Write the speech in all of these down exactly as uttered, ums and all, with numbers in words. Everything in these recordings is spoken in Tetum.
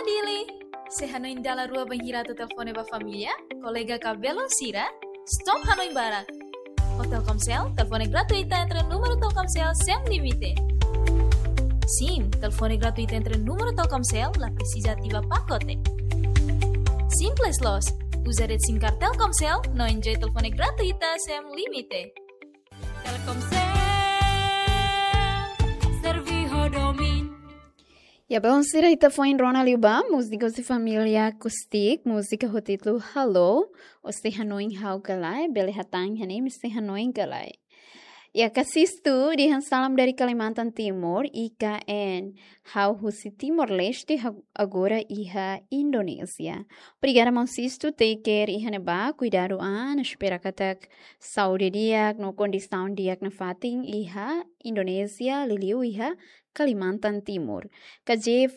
Dili, se hanoin dala rua bainhira atu telefone ba família, kolega ka belun sira, stop hanoin barak. Ho Telkomsel, telefone gratuita entre númeru Telkomsel sem limite. Sim, telefone gratuita entre númeru Telkomsel, la presiza ativa pakote. Simples loos, uza rede SIM card Telkomsel, no enjoy telefone gratuita sem limite. Telkomsel, servi ho domin. Ya, belun sira, ita foin rona liu ba múzika husi família Acoustic, múzika ho títulu Halo, Ó sei hanoin ha'u ka lae, bele hatán iha ne'e, Ó sei hanoin ka lae. Ya, kasistu, dehan salam dari Kalimantan Timur, I K N. Ha'u husi Timor-Leste, ha-, agora iha Indonézia. Obrigada, maun Sistu, take care iha ne'ebá, kuidadu an, espera katak saúde di'ak no kondisaun di'ak nafatin iha Indonézia, liuliu iha Kalimantan Timur. K J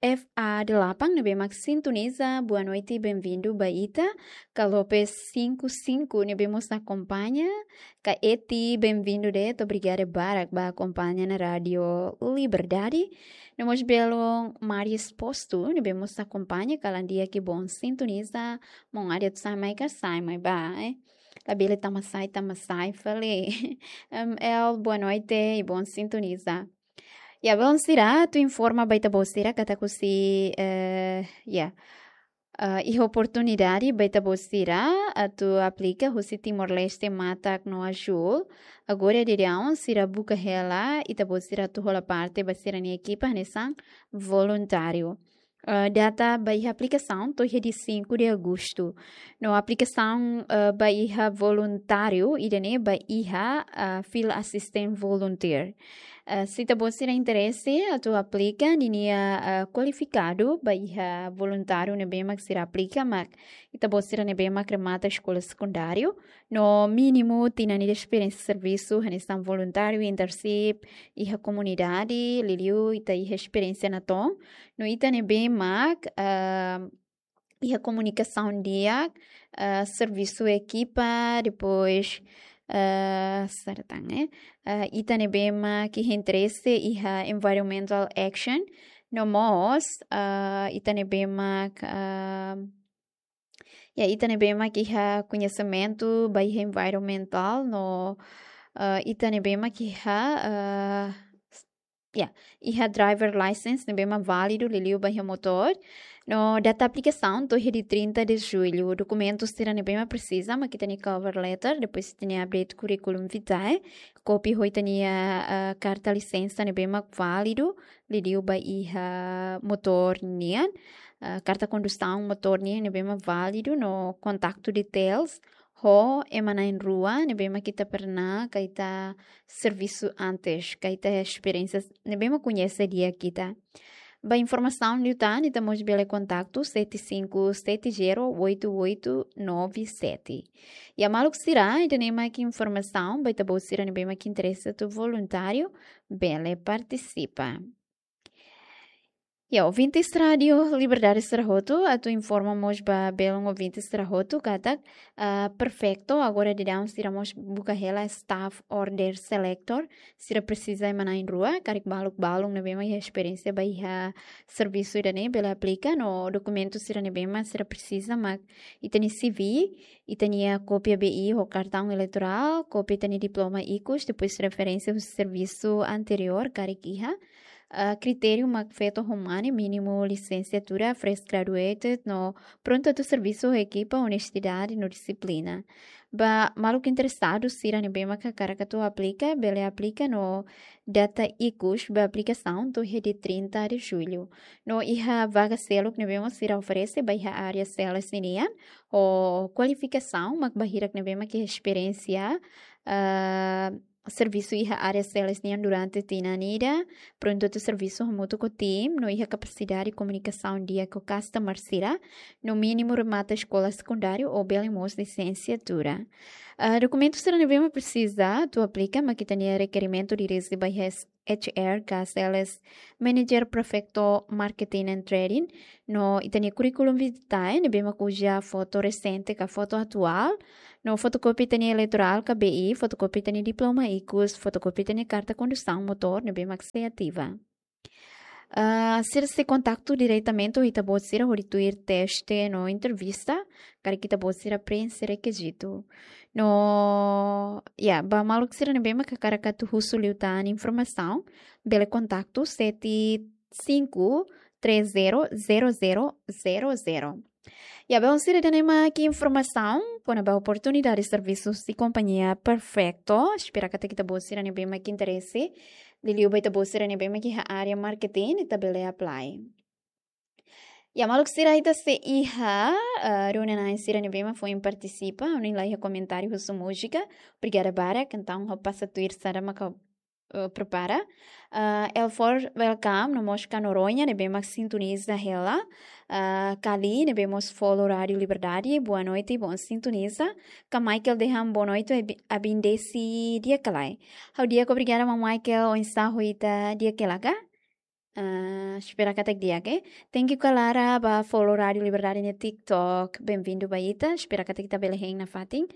F A delapan ne'ebé mak sintoniza, boa noite, bem-vindo ba ita. Ka Lopes cinco cinco ne'ebé mós akompaña, ka Eti, bem-vindo de'it, obrigada barak ba akompaña ona Rádio Liberdade. No mós belun Mari Exposto ne'ebé mós akompaña, kalan di'ak i bom sintoniza, maun Adi atu sai mai ka sai mai ba, eh. Labele tama sai, tama sai fali. M L, boa noite i bom sintoniza. Ya, belun sira, atu informa ba ita-boot sira katak husi, eh, ya. Eh, iha oportunidade ba ita-boot sira atu aplika husi Timor-Leste matak no azúl. Agora daudaun sira buka hela ita-boot sira atu hola parte ba sira-nia ekipa hanesan voluntáriu. Eh, data ba iha aplikasaun to'o iha dia cinco de agosto. No aplikasaun, eh, ba iha voluntáriu ida-ne'e ba iha, eh, field assistant volunteer. Eh, se ita-boot sira interese atu aplika, ninia, eh, kualifikadu ba iha voluntáriu ne'ebé mak sira aplika mak ita-boot sira ne'ebé mak remata eskola sekundáriu, no mínimu tinan ida esperiénsia servisu hanesan voluntáriu, internship iha komunidade, liuliu ita iha esperiénsia natoon, no ita ne'ebé mak, ah, iha komunikasaun di'ak, ah, servisu ekipa, depois, ah, saida tan, eh? Ah, ita ne'ebé mak iha interese iha environmental action, no mós, ah, ita ne'ebé mak, ah, ya, ita ne'ebé mak iha koñesimentu ba iha environmental, no, ah, ita ne'ebé mak iha, ah, ya, iha driver license ne'ebé mak válidu, liuliu ba iha motór. No data aplikasaun to'o iha dia trinta de julho. Dokumentu sira ne'ebé mak presiza, mak ita-nia cover letter, depois ita-nia update curriculum vitae, kópia ho ita-nia, ah, karta lisensa ne'ebé mak válidu, liuliu ba iha motór nian, ah, karta kondusaun motór nian ne'ebé mak válidu, no kontaktu details ho ema na'in-rua ne'ebé mak ita pernah ka ita servisu antes, ka ita esperiénsia ne'ebé mak koñese di'ak ita. Ba informasaun liután, ita mós bele kontaktu sete cinco sete zero oito oito nove sete. Ya, maluk sira, ida-ne'e mak informasaun ba ita-boot sira ne'ebé mak interese atu voluntáriu, bele partisipa. Ya, ouvintes Rádio Liberdade sira hotu, atu informa mós ba belun ouvintes sira hotu katak, ah, Prefeitu agora daudaun sira mós buka hela staff order selector, sira presiza ema na'in-rua, karik maluk balun ne'ebé mak iha esperiénsia ba iha servisu ida-ne'e bele aplika, no dokumentu sira ne'ebé mak sira presiza mak ita-nia C V, ita-nia kópia B I ho kartaun eleitorál, kópia ita-nia diploma ikus, depois referénsia husi servisu anteriór karik iha, ah, kritériu mak feto ho mane, mínimu lisensiatura, fresh graduated, no prontu atu servisu ho ekipa, onestidade no dixiplina. Ba maluk interesadu sira ne'ebé mak hakarak atu aplika, bele aplika no data ikus ba aplikasaun to'o iha dia trinta de julho. No iha vaga seluk ne'ebé mak sira oferese ba iha área sales ninian, ho kualifikasaun mak ba hirak ne'ebé mak iha esperiénsia, ah, servisu iha área sales nian durante tinan ida, prontu atu servisu hamutuk ho tim, no iha kapasidade komunikasaun di'ak ho customer sira, no mínimu remata eskola sekundáriu ou bele mós lisensiatura. Ah, dokumentu sira ne'ebé mak presiza atu aplika, mak ita-nia rekerimentu dirije ba iha H R ka sales manager Prefeitu Marketing and Trading, no ita-nia curriculum vitae ne'ebé mak uza foto resente ka foto atuál, no fotokópia ita-nia eleitorál ka B I, fotokópia ita-nia diploma ikus, fotokópia ita-nia karta kondusaun motór ne'ebé mak sei ativa. Ah, sira sei kontaktu diretamente ho ita-boot sira hodi tuir teste no entrevista, karik ita-boot sira preenxe rekizitu. No, ya, ba maluk sira ne'ebé mak hakarak atu husu liután informasaun, bele kontaktu sete cinco três zero zero zero zero zero. Ya, ba maluk sira, ida-ne'e mak informasaun kona-ba oportunidade servisu husi kompañia Perfecto. Espera katak ita-boot sira ne'ebé mak interese, liuliu ba ita-boot sira ne'ebé mak iha área marketing, ita bele apply. Ya, maluk sira, ita sei iha, eh, rona-na'in sira ne'ebé mak foin partisipa, ohin la iha komentáriu husu múzika. Obrigada barak, entaun ha'u pasa tuir saida mak, eh, prepara. Eh, Elfor, welcome, no mós Ka Noronha, ne'ebé mak sintoniza hela. Eh, Kali, ne'ebé mós follow Rádio Liberdade, boa noite, bom sintoniza. Ka Michael dehan boa noite, abi-, abindesi di'ak ka lae. Ha'u di'ak, obrigada, maun Michael, oinsá ho ita, di'ak hela ka? Ah, espera katak di'ak, eh. Thank you, Kalara, ba follow Rádio Liberdade nia TikTok. Bem-vindo ba ita. Espera katak ita bele hein nafatin,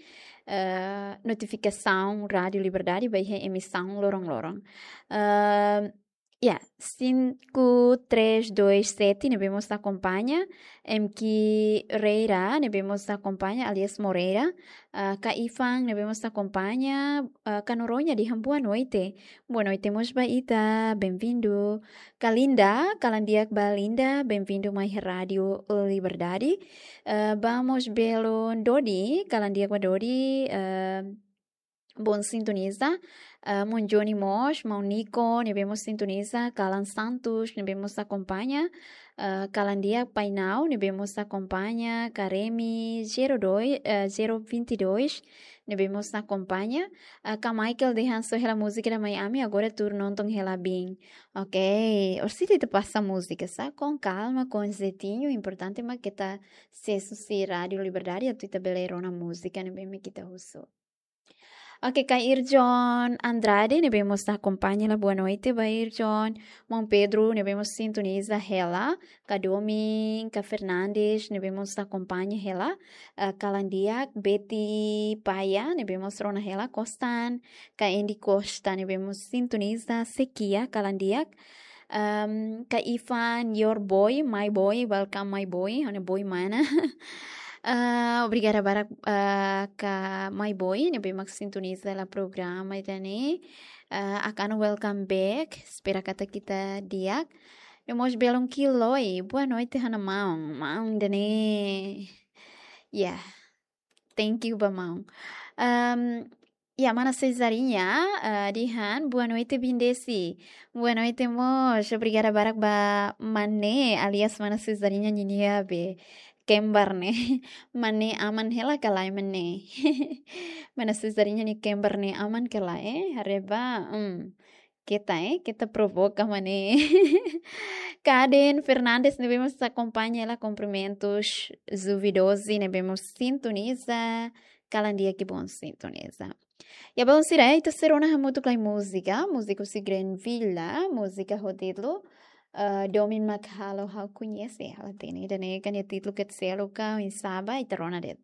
eh, notifikasaun Rádio Liberdade ba iha emisaun loron-loron. Ah, ya, cinco três dois sete, ne'ebé mós akompaña. M K Reira, ne'ebé mós akompaña, alias Moreira. Ah, Ka Ifan, ne'ebé mós akompaña. Ah, Ka Noronha dehan boa noite. Boa noite mós ba ita, bem-vindo. Ka Linda, kalan di'ak ba Linda, bem-vindo mai Rádio Liberdade. Eh, vamos belo Dodi, kalan di'ak ba Dodi, eh, bom sintoniza. Eh, maun Johnny mós, maun Nico, ne'ebé mós sintoniza, Kalan Santos, ne'ebé mós akompaña. Eh, kalan di'ak Painau, ne'ebé mós akompaña, Karemi, zero dois, eh, zero vinte e dois, ne'ebé mós akompaña. Ah, Ka Michael dehan só hela múzika ida mai ami, agora tuur nonton hela biin. Ok, orsida ita pasa múzika, sa? Com calma, com jeitinho, importante mak ita asesu husi Rádio Liberdade, atu ita bele rona múzika ne'ebé mak ita husu. Ok, Ka Irjon Andrade, ne'ebé mós akompaña hela, boa noite ba Irjon. Maun Pedro, ne'ebé mós sintoniza hela. Ka Domin, Ka Fernandes, ne'ebé mós akompaña hela. Eh, kalan di'ak, Betty Paia, ne'ebé mós rona hela, Kostan, Ka Andy Costa, ne'ebé mós sintoniza, Sekia, kalan di'ak. Ehm, Ka Ifan, your boy, my boy, welcome my boy, ha'u-nia boy mana. Eh, obrigada barak, eh, Ka my boy, ne'ebé mak sintoniza hela programa ida-ne'e. Eh, Akano, welcome back. Espera katak ita di'ak. No mós belun Kiloi, boa noite, ha'u-nia maun. Maun ida-ne'e. Ya. Thank you ba maun. Ehm, ya, mana Cesarinha, eh, dehan, boa noite, bindesi. Boa noite mós. Obrigada barak ba Mane, alias mana Cesarinha ninia be kembar ne'e. Mane aman hela ka lae, Mane? Mana Cesarinha nia kembar ne'e aman ka lae, eh? Haree ba, hmm. Keta, eh? Keta provoka, Mane. Ka Aden Fernandes, ne'ebé mós akompaña hela, cumprimentos. Zuvi doze, ne'ebé mós sintoniza. Kalan di'ak, bom sintoniza. Ya, maluk sira, ita sei rona hamutuk lai múzika, múzika husi Gren Villa, múzika ho títulu, eh, Domin Mak Halo Ha'u Koñese, halo tene, ida-ne'e nia títulu kedas seluk ka, oinsá ba, ita rona de'it.